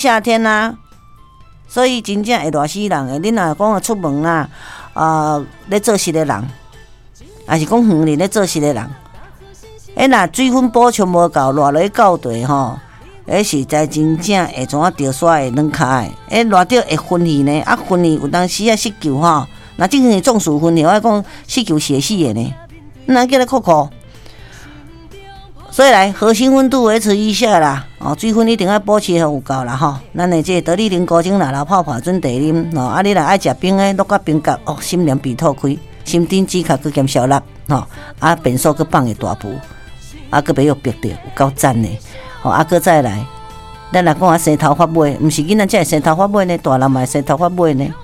夏天啊，所以真正會熱死人的。你若講出門啊，咧做事的人，抑是講園林咧做事的人，若水分補充無夠，熱落去到地吼，彼實在真正會怎啊著沙會軟跤的，熱著會昏去呢，啊昏去有當時啊失救吼，若真正中暑昏去，我講失救是會死的呢，咱叫咧哭哭。所以來核心溫度維持一下啦，哦，水分一定愛保持予有夠啦吼。咱的這個得力靈菇精來流泡泡準備啉吼，啊，你若愛食冰的，淥較冰角哦，心涼鼻透開，心頂止咳閣兼消納吼，啊，便所閣放會大浮，啊，閣袂予憋著，有夠讚的。吼，啊，閣再來，咱若講啊生頭髮尾，毋是囡仔才會生頭髮尾呢，大人嘛會生頭髮尾呢。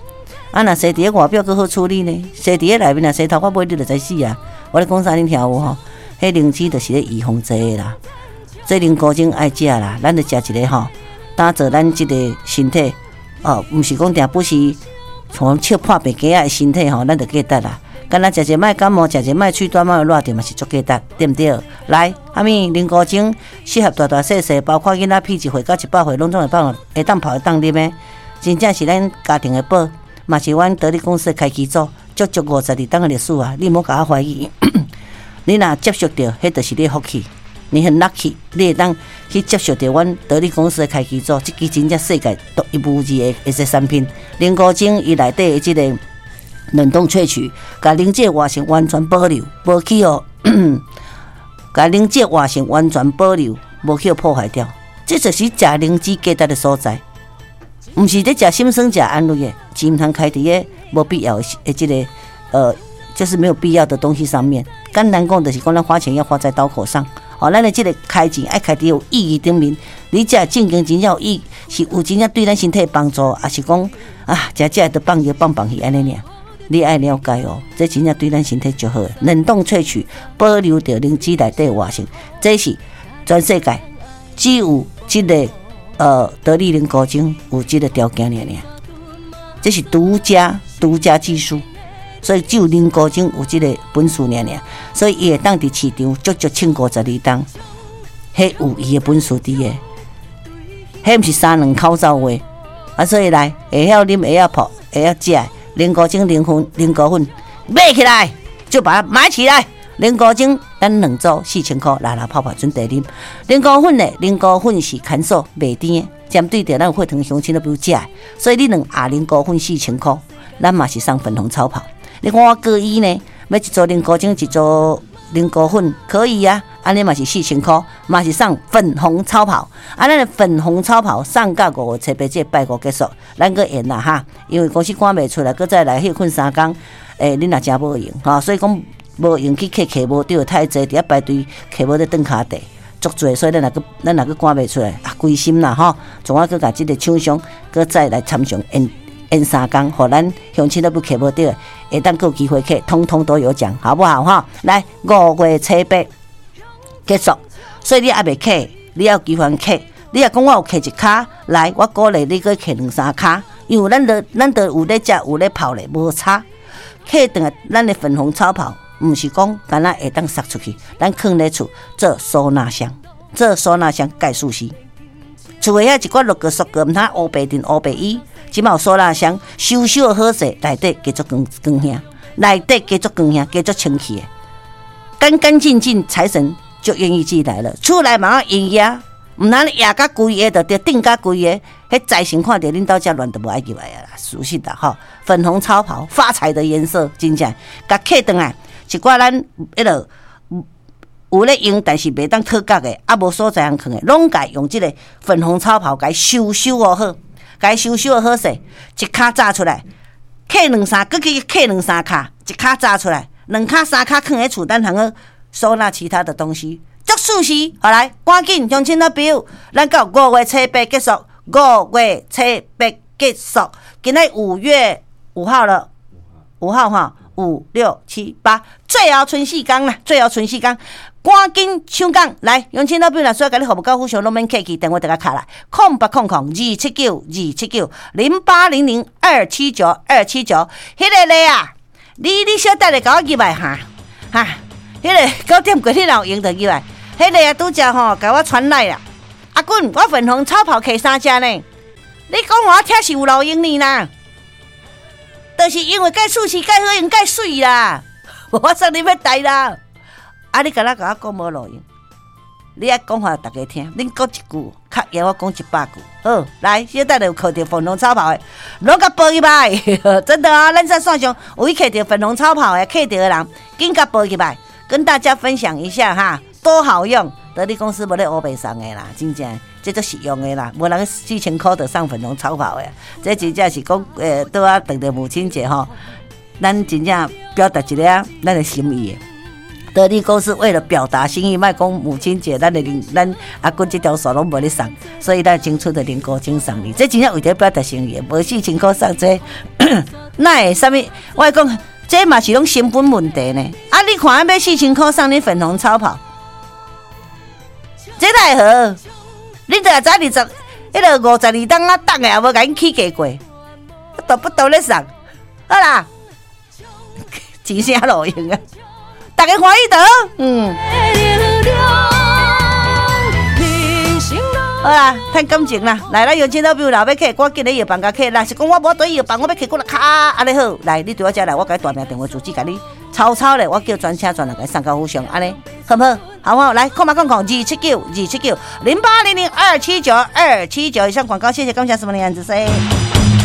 啊，若生佇咧外表閣好處理呢，生佇咧內面若生頭髮尾，你就知死啊！我咧講啥，恁聽有無吼？彼靈芝就是咧預防這个啦，這靈菇精愛食啦，咱就食一个吼，打造咱這个身體哦，毋是講定不是從笑破病雞仔的身體吼，咱就價值啦。敢若食一擺感冒，食一擺喙短，仔熱著嘛是足價值，對毋對？來，啥物靈菇精適合大大細細，包括囡仔屁1歲到100歲，攏總會放會當泡會當啉的，真正是咱家庭的寶，嘛是阮得力公司的開基祖，足足52冬的歷史啊！你毋好共我懷疑。你若接觸著，彼就是你的福氣，你很 lucky，你會當去接觸著阮得力公司的開基祖，這支真正世界獨一無二的一個產品。靈菇精伊內底的這個冷凍萃取，共靈芝活性完全保留，無去予，共靈芝活性完全保留，無去予破壞掉。這就是食靈芝價值的所在，毋是咧食心酸食安慰的，錢毋通開佇个無必要的這個就是沒有必要的東西上面。簡單講，就是講咱花錢要花在刀口上。哦，咱的這個開錢愛開佇有意義頂面。你食正經真正有意，是有真正對咱身體幫助，抑是講啊，食食都放藥放放去按呢爾？你愛了解哦，這真正對咱身體足好。冷凍萃取，保留著靈芝內底活性，這是全世界只有這個得力靈菇精有這個條件爾爾，這是獨家獨家技術。所以只有靈菇精有這個本事爾爾，所以伊會當佇市場足足撐52冬，彼有伊的本事佇个，彼毋是三兩口走話，啊，所以來會曉啉，會曉泡，會曉食，靈菇精、靈粉、靈菇粉買起來，就把它買起來。靈菇精咱兩組4000箍，來來泡泡準備啉。靈菇粉呢？靈菇粉是乾燥袂甜的，針對著咱有血糖鄉親都不如食，所以你兩盒靈菇粉四千箍，咱嘛是送粉紅超跑。你看我各一呢，買一組靈菇精，一組靈菇粉可以啊，按呢嘛是四千箍，嘛是送粉紅超跑。啊，咱的粉紅超跑送到5月初8這個拜五結束，咱閣延啦哈，因為公司趕袂出來，閣再來歇睏3工，恁若誠無閒吼，所以講無閒去客，客無著太濟，佇遐排隊客無咧轉跤地，足濟，所以咱若閣趕袂出來啊，規心啦吼，總愛閣共這個廠商閣再來參詳延。延3工，予咱鄉親都不客無著，會當閣有機會客，通通都有獎，好不好哈？來，5月初8結束，所以你猶未客，你猶有機會客。你若講我有客一跤，來，我鼓勵你閣客兩三跤，因為咱都有咧食，有咧泡咧，無差。客轉來咱的粉紅超跑，毋是講干焦會當撒出去，咱囥咧厝做收納箱，做收納箱蓋舒適。厝的遐一寡落個縮個，毋通烏白陣烏白衣。這馬有收納箱，收收好勢，內底加足光光顯，內底加足光顯，加足清氣的，乾乾淨淨，財神就願意進來了。出來馬上營業，毋通壓甲規个，就著頂甲規个，彼財神看著恁兜遮亂，就無愛入來啊啦。熟悉的吼，粉紅超跑，發財的顏色，真正，共客轉來，一寡咱彼落有咧用，但是袂當討角的，啊無所在通囥的，攏共用這個粉紅超跑共收收好。共收收好勢，一跤紮出來，客兩三，閣去客兩三跤，一跤紮出來，兩跤三跤囥佇厝，咱通好收納其他的東西。足舒適，好來，趕緊鄉親老朋友，咱到5月初8結束，五月初八結束，今仔5月5號了，五號哈，五六七八，最後賰四工啦，最後賰四工。趕緊搶講來，鄉親老朋友若需要共你服務到府上，攏免客氣，電話就共敲來，08002792790800279279。彼个咧啊，你小等下共我入來哈，哈，彼个9點過你若有閒就入來。彼个啊，拄才吼共我傳來啦，阿滾，我粉紅超跑客三隻呢。你講予我聽是有路用呢啦，就是因為蓋厝是蓋好用蓋媠啦，我送你欲台啦。啊！你敢若共我講無路用？你愛講予大家聽，恁講一句，較贏我講100句。好，來，小等下有囥著粉紅草跑的，攏共報入來，真的啊！咱在線上有去囥著粉紅草跑的，囥著的人，緊共報入來，跟大家分享一下哈，多好用！得力公司無咧烏白送的啦，真正這足實用的啦，無人4000箍就送粉紅草跑的，這真正是講，拄仔逢著母親節吼，咱真正表達一下咱的心意的。得力公司為了表達心意，莫講母親節，咱的咱阿君這條線攏無咧送，所以咱青春的靈歌請送你，這真正為著表達心意，無4000箍送這，哪會啥物？我講這嘛是攏成本問題呢。啊，你看買四千箍送你粉紅草跑。這哪會好？你就知二十，彼个52冬仔凍的也無共𪜶起價過，都不都咧送？好啦，錢啥路用啊？大家歡喜著，嗯。好啦，趁感情啦，來咱有錢老朋友若欲客，趕緊咧藥房共客，若是講我無佇藥房，我欲客過來較按呢好，來，你對我遮來，我共你大名電話住址共你抄抄咧，我叫專車專人共你送到府上，按呢好毋好？好無？來，0800279279，0800279279，以上廣告，謝謝，感謝什麼的樣子噻。